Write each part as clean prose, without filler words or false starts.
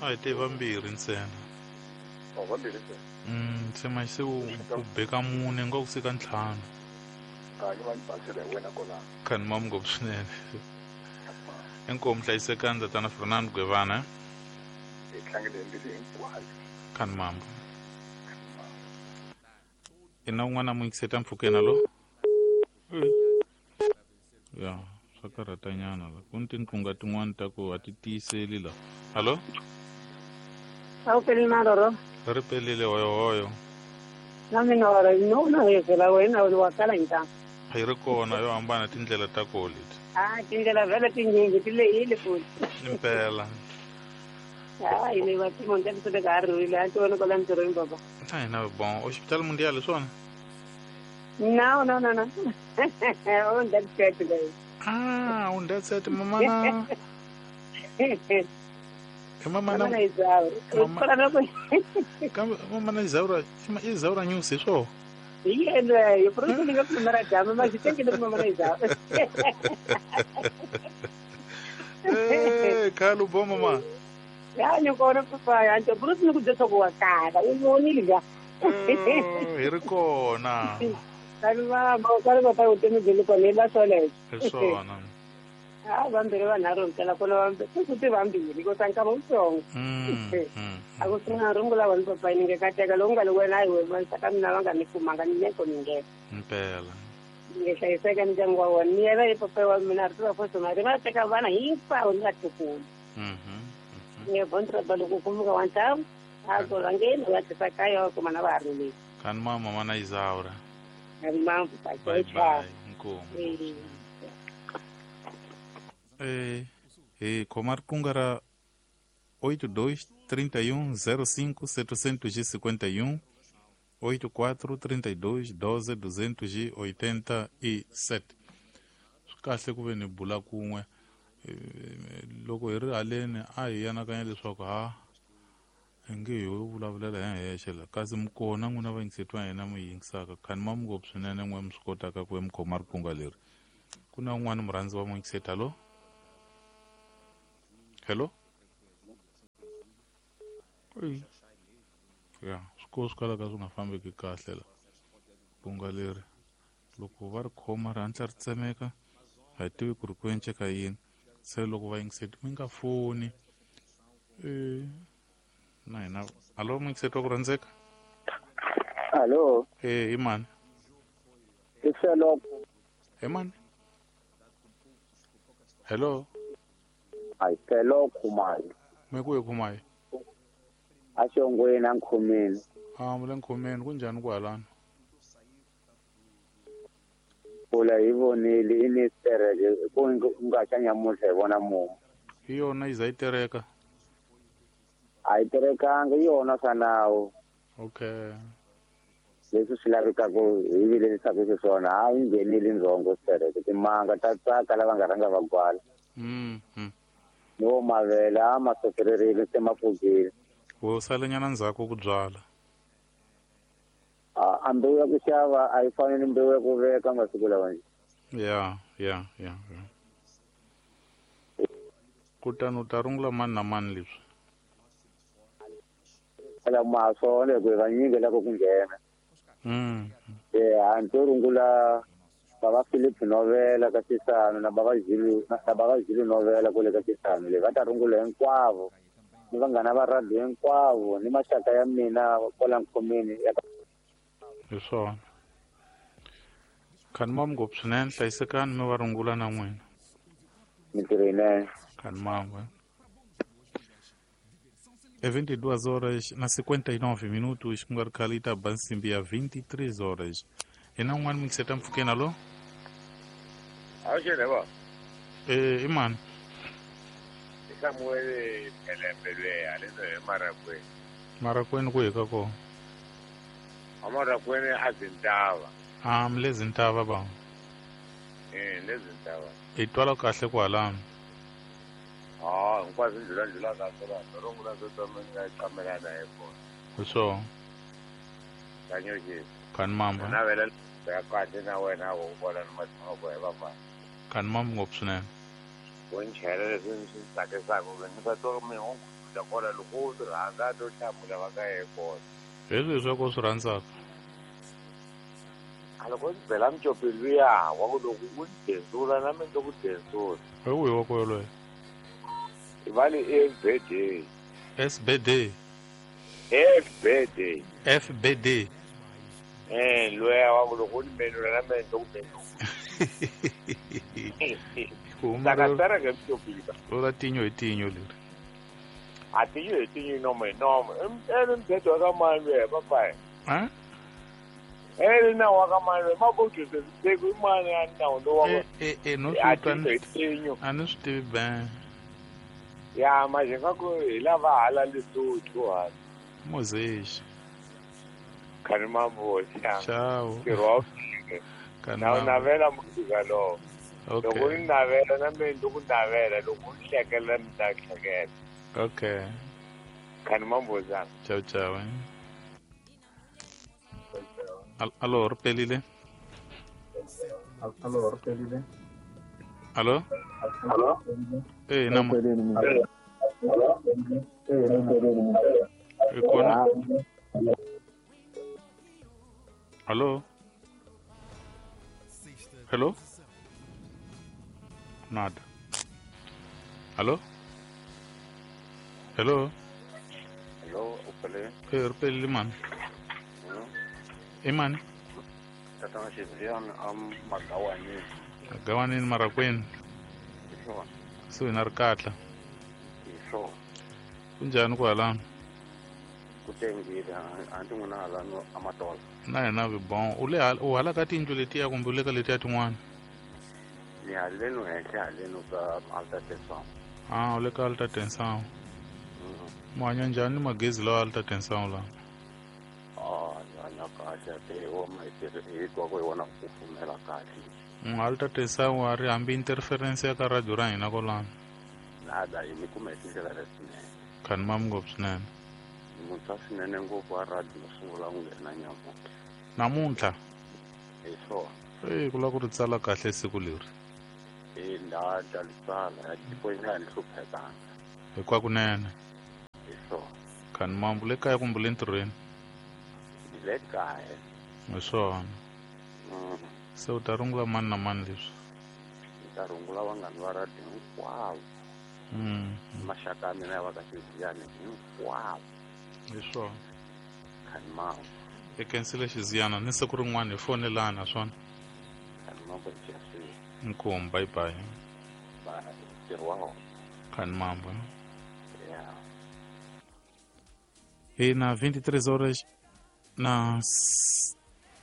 A hi te vambirhi ntsena. Oh, vambirhi ntsena. Se manje se u beka mune nga ku sika ntlhanu. A ni va ni basela hi wena kwalano. Khani mamu ngopfu swinene. Inkomu hlayisekani tatana Fernando Gwevana. Hi tlangele hi mbilu hinkwayo. Khani mambo. Ina un'wana mu yingiseta mpfhukeni alo? Ya, swa karhatanyana la. Ku ni tinqunga tin'wana ta ku a ti tiyiseli la. Hallo? A wu pelile na roro? Ri pelile hoyohoyo. Na mina wa ri no na hezela wena wa kala hinta. A yi ri kona yo hambana tindlela ta koho leti. Ah, tindlela vhele tinyingi ti lehile futhi. Impela. Hayi ni va timo nta ti ka ri rile a ti vona kwala ntirhweni baba. Na hina bon, hospital mundial hi swona? No, no, no, no. On that set guys. Ah, on that set mamana. Mamana Mamana Isaura. Kambe mamana Isaura, Isaura news hi swona? Hi yena, hi purisi ni nga pfumela jama, ma xi tekile ku mamana Isaura. Eh, khale u bo mama. Ya ni kona papa ya nto purisi ni ku byela ku wa kala, u vonile ga. Hi ri kona. Kani mama, kani papa vutomi byi le kona hi la swoleswo. Hi swona. Ha vambirhi vanharhu ntsena kona vambirhi ku ti vambirhi ko tsanka wutsongo. A ku sungula rungula wena papa ni nge kateka lowu nga le wena a hi wena maxaka mina va nga ni kumanga ni neko ni nghena. Impela. Ni nge hlayiseka ndyangu wa wena ni yena hi papa wa mina ri tiva fosi mali va teka vana hinkwavo ni vatukulu. Ni nge bontraba loko u kumeka wa ntlhamu a ku rhangeni va tisa kaya wa kuma na va ha rilile. Kani mama mana Isaura. Kani mama papa Bye bye. Inkomu. Eh, khoma riqingho ra 82 31 05 751 84 32 12 287. Swi kahle ku ve ni bula kun'we. Loko hi ri haleni a hi anakanya leswaku ha hi nge hi vulavulela hi hexe la, kasi mi kona n'wina va yingiseti va hina mi yingisaka. Khani ma mi ngopfu swinene n'we mi swi kotaka ku ve mi khoma riqingho leri. Ku na un'wana murhandzi wa muyingiseti. Hallo? Hello? Ya, swikolo swi kalaka swi nga fambeki kahle la. Riqingho leri loko va ri khoma ri hatla ri tsemeka, a hi tivi ku ri ku enceka yini. Se loko va yingiseti mi nga foni. Na hina. Hallo, muyingiseti wa ku rhandzeka? Hallo. Eh, i mani? I Selo. Hi mani? Hello. Ai Selo Khumalo. Me ku Khumalo. A xongweni a nkhomeni. Ah, mule nkhomeni ku njhani ku halana? Pula hi vonile i ni tereke ku nga xa nyamuhla hi vona mumu. Hi yona yi za yi tereka. A yi terekanga hi yona swa nawu. Okay. Leswi swi lavekaka hi vilerisaka xiswona a yi nghenile ndzhongo sitereke timanga ta tsaka lava nga rhanga va gwala. Ni wo mavele a ma sokererile se ma pfukile. Wo salenyana ndzhaku ku byala. A mbewu ya ku xava a yi fani ni mbewu ya ku veka masiku lawa nje. Ya. Kutani u ta rungula mani na mani leswi? Phela ma swona hi ku hi vanyingi loko ku nghena. A ni to rungula bava Philip Novela ka Xisano na bava Zulu na bava Zulu Novela kule ka Xisano le va ta rungula hinkwavo ni vanghana va radio hinkwavo ni maxaka ya mina kwala nkhomeni ya hi swona. Khani mamu ngopfu swinene, hlayisekani mi va rungula na n'wina. Mintirho yinene. Khani mamu. É 22 horas na 59 minutos, ku nga ri khale yi ta ba nsimbi ya 23 horas. Hi na un'wana muyingiseti mpfhukeni. Hallo? Awuxele va. Eh, i mani? I Samuel Phelembe lweya le hi Marakweni. Marakweni ku hi ka kona? A Marakweni a Zintava. Ah, mi le Zintava ba. Eh, le Zintava. Hi twala kahle kwalano. Ah, hinkwaswo ndlula ndlula ka swona, rungula swo tama ni nga qamelana hi kona. Hi swona. Kanyoxi. Khani mamba. Navela ya kahle na wena wo vona ni matsongo hi vafana. Khani mamba ngopfu swinene. Ku nchela leswi swi tsakisaka ku ni va twa mi hungu ta kona loko u swi rhandza to hlamula va ka ye kona. Hi leswi ku swi rhandzaka. A loko ndzi bela mucopi luya wa ku loko u ni densula na mina ndzi ku densula. Hi wihi wa ku yoloye? Va le FBD. SBD. FBD. FBD. Loya wa ku loko u ni menula na mina ndzi ku menula. Saka mucopi. Ro tinyo hi tinyo leri. A tinyo hi tinyo nomo hi nomo. Ene mthetho wa ka mani luya papayi. Ha? Ene nawu wa ka mani luya mabokisi siku i mani ya nawu lowu wa no a tinyo hi tinyo. A ni swi tivi ben. Ya manje nga ku hi lava hala Lesotho hala. Mozexi. Khani mamboxa. Ciao. Ntirho wa na navela muzika lowo. Okay. Loko ni navela na mina ndzi ku navela loko ni hlekela mi ta hlekela. Okay. Khani mamboxa. Ciao ciao. Allo, ripelile. Allo, ripelile. Allo? Allo? Nama. Kona. Allo? Hello? Nada. Allo? Hello? Hello, upele. Ripelile mani. Imani? Tatana Xiziyana a Magawanini. Magawanini Marakwini. Hi swona. Kusuhi na Rikatla. Hi swona. Kunjhani kwalano? Ku tengile a ndzi n'wina halano a Matola. Na hina vi bon. U le u hala ka tiyindlu letiya kumbe u le ka letiya tin'wana? Ni haleno henhla haleno ka Alta Tensão. Ah, u le ka Alta Tensão. Mu hanya njhani magezi lawa Alta Tensão lawa? Hanya kahle te wona hi twa ku hi wona ku kufumela kahle. Alta Tensão a ri hambi interference ya ka radio ra hina kwalano. Nada, hi mi kuma hi tindlela letinene. Khani mam ngopfu swinene. Muntshwa swinene ngopfu wa radio sungula ku nghena nyamuntlha. Namuntlha? Hi swona. Ku lava ku ri tsala kahle siku leri. Laha ta ri tsala tiko yi nga ha ni hluphekanga. Hinkwakunene. Hi swona. Khani mambu le kaya kumbe le ntirhweni? Le kaya. Hi swona. Se u ta rungula mani na mani leswi? Ni ta rungula vanghana va radio hinkwavo. Maxaka ya mina ya va ka Xiziyana hinkwavo. Hi swona. Khani mambu. Hi khensile Xiziyana ni siku rin'wana hi fonelana swona. Khani mambu hi khensile. Inkomu, bye bye. Bye. Ntirho wa hona. Khani mambu. Yeah. Hi na 23 horas na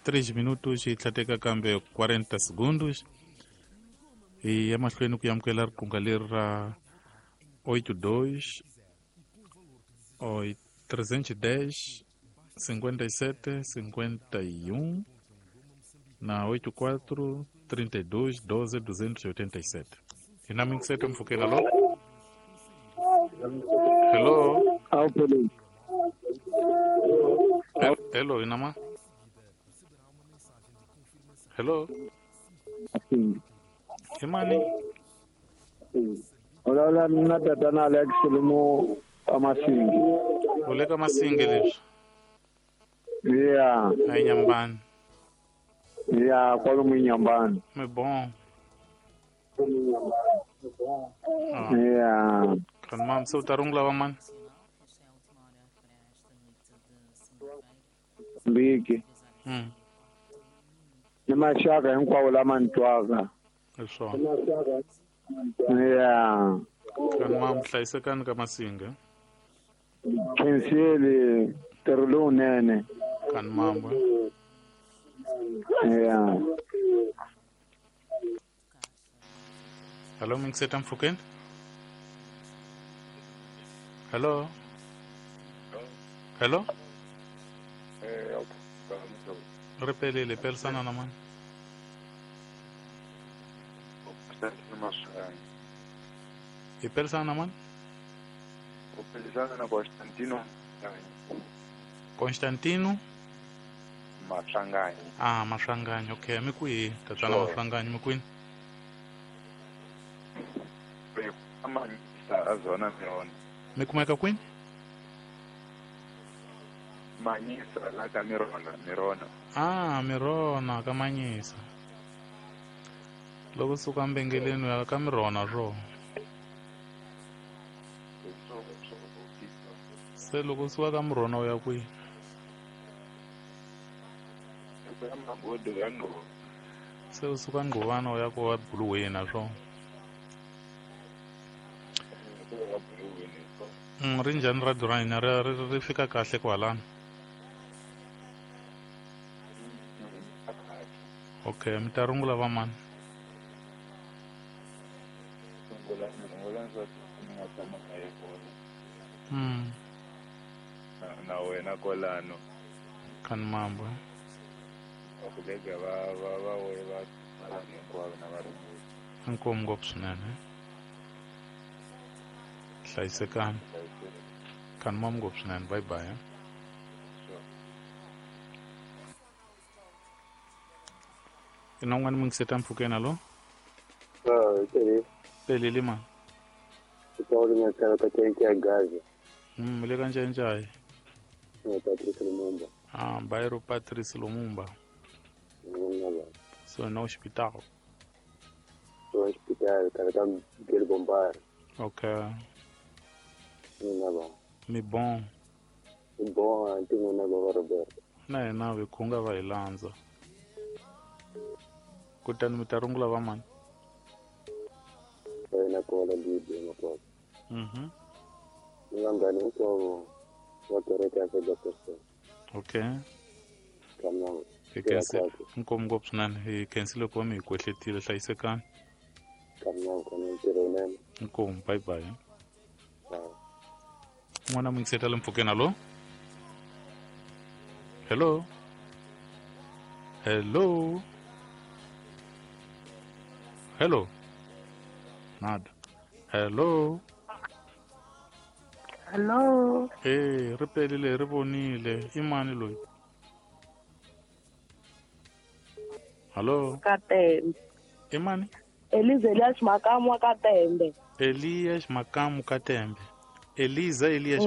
3 minutos hi tlhateka kambe 40 segundos. Hi ya mahlweni ku amukela riqingho leri ra 82 310 57 51 na 84 32 12 287. Hi na mingisete mpfhukeni. Allo? Hello? Hello, inama? Hello? Imani? Hola, mina tatana Alex Lumo Amasingi. U le ka Masingi leswi? Yeah. A Nyambani. Yeah, kwalomu Nyambani. Mi bon. Yeah. Khani mam, se u ta rungula va mani? Mbiki. Ni maxaka hinkwawo lama ni twaka. Hi swona. Yeah. Khani mam, hlayisekani ka Masingi. Khensile ntirho lowunene. Khani mambu. Yeah. Hello, mingiseta mpfhukeni? Hello? Hello? Ripelile, pelisana na mani? Hi pelisana na mani? Upelisana na Constantino. Constantino? Maswanganyi. Ah, Maswanganyi, okay. Mi kwihi? Tatana Maswanganyi, mi kwini? Amanyisa azona miona. Mi kumeka kwini? Manyisa la ka Mirona. Ah, Mirona ka Manyisa. Loko suka mbengeleni ya ka Mirona ro. Se loko suka ka Mirona u ya kwihi? Se u suka Ngquvana u ya ku Buluweni swo. Ri njhani radio ra hina ri fika kahle kwalano? Okay, mi ta rungula va mani? Na wena kwalano. Kani mambo. Vakulega va we va hinkwavo na varunguli. Inkomu ngopfu swinene. Hlayisekani. Kani mambo ngopfu swinene. Bye bye. Ina un'wana mi ngiseta mpfhukeni alo? Pelile mani? Mi le ka Ncayincaya. Ah, bairro Patrice Lumumba. So no hospital. Hospital, cara, bombar. Okay. Mi bon. Mi bon, antingo na baba Roberto. Na yena vi khunga va hi landza. Kutani mi ta rungula va mani? Wena kola bibi makwabo. Ni vanghani hinkwavo va kereke ya Ferguson. Okay. Hi khense inkomu ngopfu swinene. Hi khensile ku va mi hi kwehletile. Hlayisekani. Inkomu, bye bye. N'wana mi ngiseta le mpfhukeni alo? Hello? Hello? Hello? Nada. Hello? Hello. Eh, ri pelile ri vonile. I mani loyi? Hello. Katembe. I mani? Elias Makamu Katembe. Elias Makamu Katembe. Eliza Elias.